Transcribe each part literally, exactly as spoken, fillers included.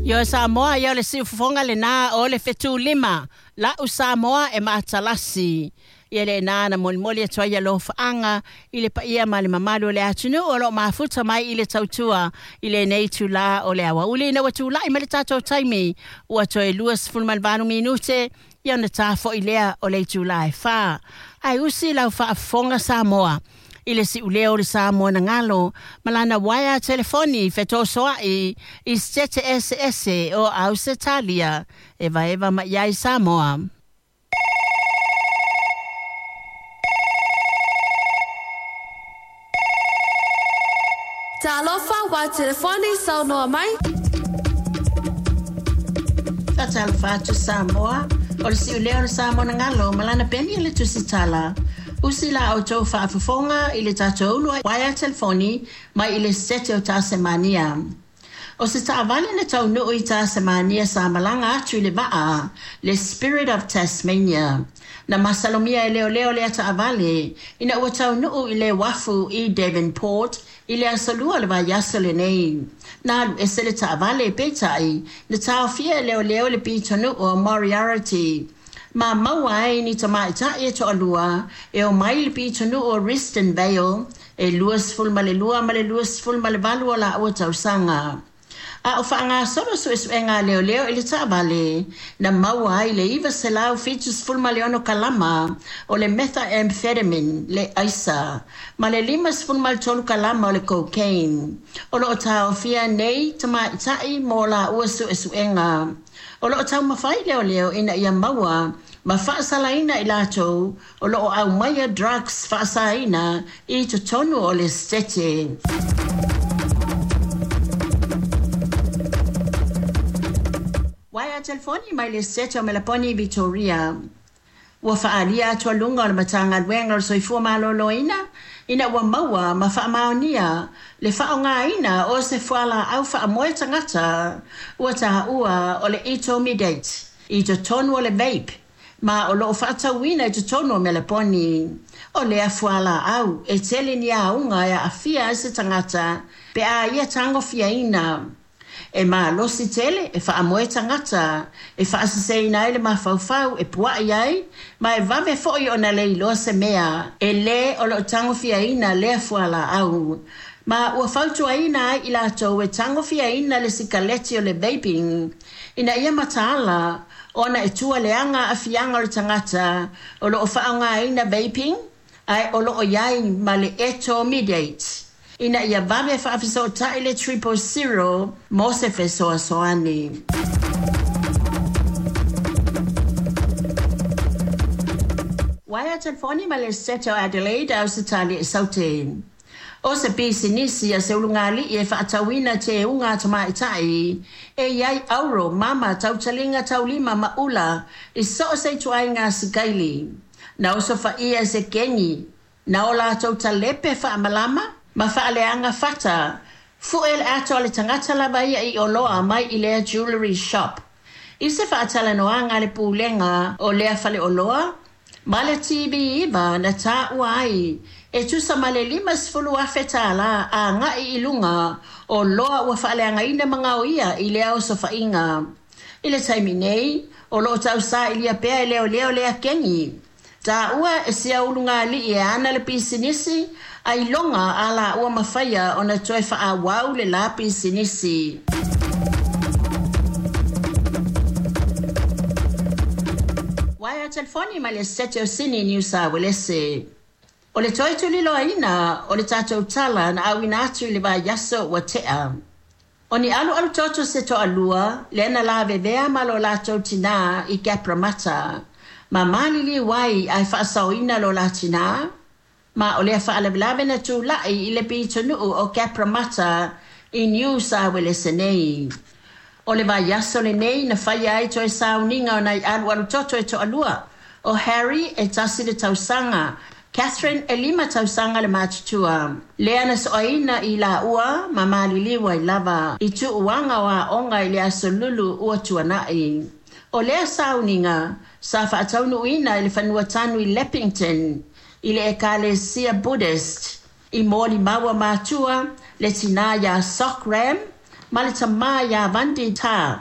Yo Samoa ia le siufofoga lena o le fetulima la'u Samoa e matalasi. Ia le nā na molimoli atu ai alofaga i le paia ma le mamalu o le atunuu o loo mafuta mai i le tautua i lenei itulā o le aoauli ina ua tula'i mai le tatou taimi ua toe luasefulu ma le valu minute ia ona tafo'i lea o le itulā e fā. Ae usi lau faafofoga Samoa i le si'uleo o le Samoa na galo ma lana uaea telefoni fetosoa'i i Setete eseese o Ausetalia e vaeva mai ai Samoa. Talofa wa telefoni saunoa mai. Faatalofa atu Samoa, o le si'uleo o le Samoa na galo ma lana peni o le tusitala. Usi la outou faafofoga i le tatou ulu uaea telefoni mai i le Setete o Tasemania. O se taavale na taunuu i Tasemania sa malaga atu i le vaa le Spirit of Tasmania. Na masalomia e leoleo lea taavale ina ua taunuu i le uafu i Devonport i le aso Lua o le vaiaso lenei. Na alu ese le taavale peitai na taofia e leoleo le pitonuu o Moriarty. Ma maua ai ni tamaita'i e to'alua e omai le pitonuu o Risdon Vale e luasefulu ma le lua ma le luasefulu ma le valu o laua tausaga. A o faagasolo suesuega a leoleo i le taavale na maua ai le iva selau fitusefulu ma le ono kalama o le methamphetamine le aisa ma le limasefulu ma le tolu kalama o le cocaine. O loo taofia nei tamaita'i mo laua suesuega. O loo taumafai leoleo ina ia maua ma faasalaina i latou o loo aumaia drugs faasaina i totonu o le Setete. Uaea telefoni mai le Setete o Melaponi Victoria. Ua faaalia atualuga o le Matagaluega o le Soifua Maloloina ina ua maua ma faamaonia le faaaogāina o se fualaau faamoe tagata ua taua o le etomidate i totonu o le vape ma o loo faatauina i totonu o Melaponi. O lea fualaau e tele ni auga e aafia ai se tagata pe a ia tagofiaina. E malosi tele e faamoe tagata e faaseseina ai le mafaufau e pua'i ai ma e vave fo'i ona le iloa se mea e lē o loo tagofiaina lea fualaau. Ma ua fautuaina ai i latou e tagofiaina le sikaleti o le vaping ina ia mataala ona e tua leaga aafiaga o le tagata o loo faaaogāina vaping ae o loo iai ma le etomidate ina ia vave faafesootai le triple zero mo se fesoasoani. Uaea telefoni ma le Setete o Adelaide Ausetalia e Saute. O se pisinisi a se ulugalii e faatauina teuga a tamaita'i e iai auro mama tautaliga taulima ma ula i so o se ituaiga asikaili. Na osofaia e se kegi na o latou talepe faamalama ma faaleaga fata fu'e le ato a le tagata lava ia i oloa mai i lea jewellery shop. I se faatalanoaga a le pulega o lea faleoloa ma le T V iva na taua ai e tusa ma le limasefulu afe tālā aga'i i luga o loa ua faaleagaina ma gaoia i lea osofa'iga. I le taimi nei o loo tausa'ilia pea e leoleo lea kegi. Taua e sia ulugalii e ana le pisinisi ailoga a laua mafaia ona toe faaauau le la pisinisi. Uaea telefoni mai le Setete o Sini Niu Sa Uelese. O le toe tuliloaina o le tatou tala na auina atu i le vaiaso ua te'a. O ni alualu toto se to'alua lea na lavevea ma lo latou tinā i Cabramatta. Ma maliliu ai ae faasaoina lo la tinā. Ma o lea faalavelave na tula'i i le pitonuu o Cabramatta i Niu Sa Uelese nei. O le vaiaso lenei na faia ai toe sauniga o nai alualu toto e to'alua. O Harry e tasi le tausaga, Catherine e lima tausaga le matutua. Lea na soaina i laua ma maliliu ai lava i tuuaga o aoga i le aso Lulu ua tuana'i. O lea sauniga sa faataunuuina i le fanua tanu i Leppington i le Ekalesia Buddhist i molimau matua le tinā iā Sok Ram Ma le tamā iā Vandi Tā.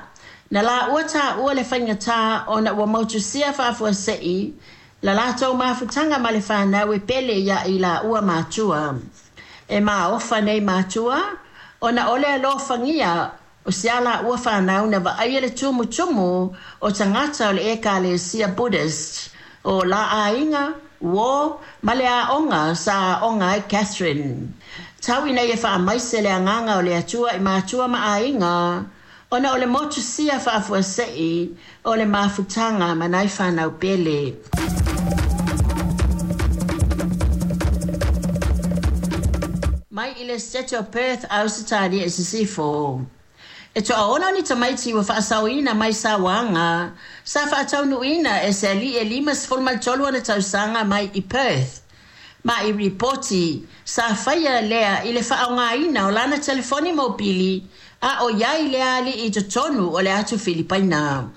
Na laua taua le faigata ona ua motusia faafuasei la latou mafutaga ma le fanau e pele iā i laua matua. E maofa nei matua ona o le alofagia o si a laua fanau na vaaia le tumutumu o tagata o le Ekalesia Buddhist. O la aiga, uō ma le aoga sa aoga ai Catherine. Tau ina ia faamaise le agaga o le Atua i matua ma aiga ona o le motusia faafuasei o le mafutaga ma nai fanau pele. Mai i le State o Perth, Ausetalia i Sisifo. E toaono ni tamaiti ua faasaoina mai sauaga sa faataunuuina e se alii e limasefulu ma le tolu ona tausaga mai i Perth. Ma i ripoti sa faia lea i le faaaogaina o lana telefoni mopili a o iai le alii i totonu o le atu Filipaina.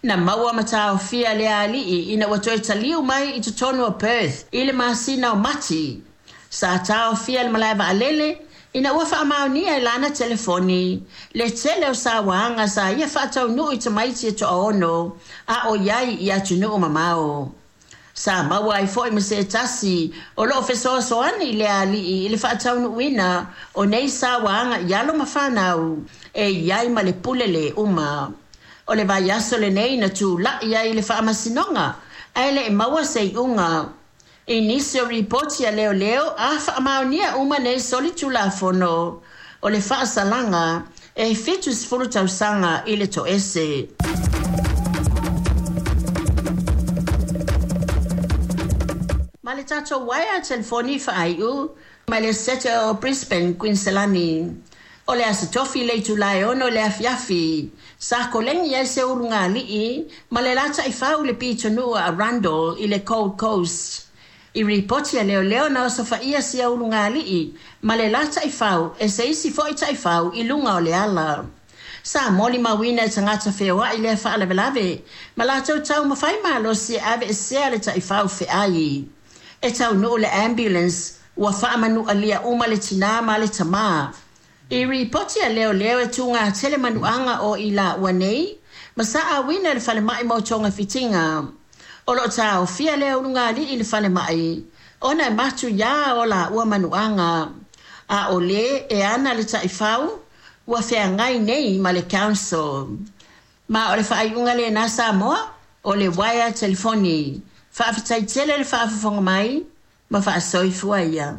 Na maua ma taofia le alii ina ua toe taliu mai i totonu o Perth i le masina o Mati. Sa taofia le malae vaalele ina ua faamaonia i lana telefoni le tele o sauaga sa ia faataunuu i tamaiti e toaono a o iai i atunuu mamao. Sa maua ai foi ma se tasi o loo fesoasoani i le alii i le faataunuuina o nei sauaga i alo ma fanau e iai ma le pule le uma. O le vaiaso lenei na tula'i ai i le faamasinoga ae le i maua se iuga. I nisi o ripoti a leoleo a faamaonia uma nei solitulafono o le faasalaga e fitusefulu tausaga i le toese. Ma le tatou uaea telefoni faaiu mai le Sete o Brisbane, Queensland. O le Aso Tofi le itula e ono i le afiafi sa kolegi ai se ulugalii ma le la taifau i le pitonuu a Arundel i le Gold Coast. I ripoti a leoleo na osofaia sia ulugalii ma le la taifau e se isi foi taifau i luga o le ala. Sa molimauina e tagata feoai lea faalavelave ma latou taumafai malosi e aveesea le taifau feai. E taunuu le ambulance ua faamanualia uma le tinā ma le tamā. I ripoti a leoleo e tugatele manuaga o i laua nei ma sa auina i le falemai mo togafitiga. O loo taofia lea ulugalii i le falemai ona e matuiā o laua manuaga. A o lē e ana le taifau ua feagai nei ma le council. Ma o le faaiuga lenā Samoa o le uaea telefoni. Faafetai tele le faafofoga mai ma faasoifua ia.